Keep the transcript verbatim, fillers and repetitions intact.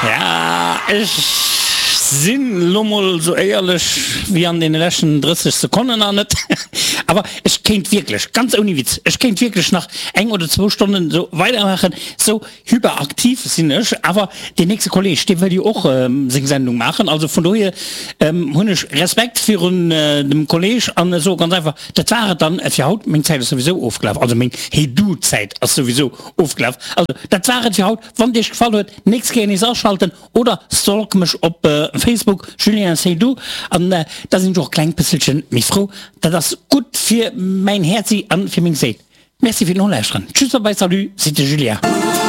Ja, ech sinn lo mol sou éierlech wéi an deene leschten drësseg Sekonnen nach net. Awer ech kéint wierklech, ganz ouni Witz, ech kéint wierklech nach eng oder zwou Stonnen sou weidermaachen. Sou hyperaktiv sinn ech. Awer deen nächste Kolleg, dee wëll jo och seng Sendung maachen. Also vun dohier hunn ech Respekt virun dem Kolleg an soe ganz einfach, dat war et dann fir haut. Meng Zäit ass souwisou ofgelaf, also meng Hey-Du-Zäit ass souwisou ofgelaf. Also dat war et fir haut. Wann et iech gefall huet, nächst Kéier nees aschalten oder stalk mech op Facebook, Julien Seydoux, an da sinn ech och e klengt bësselchen méi frou. Dat ass gutt fir mäin Häerzi an fir meng Séil. Merci fir d'Nolauschteren. Tschüss, bye bye, salut, seet de Julien.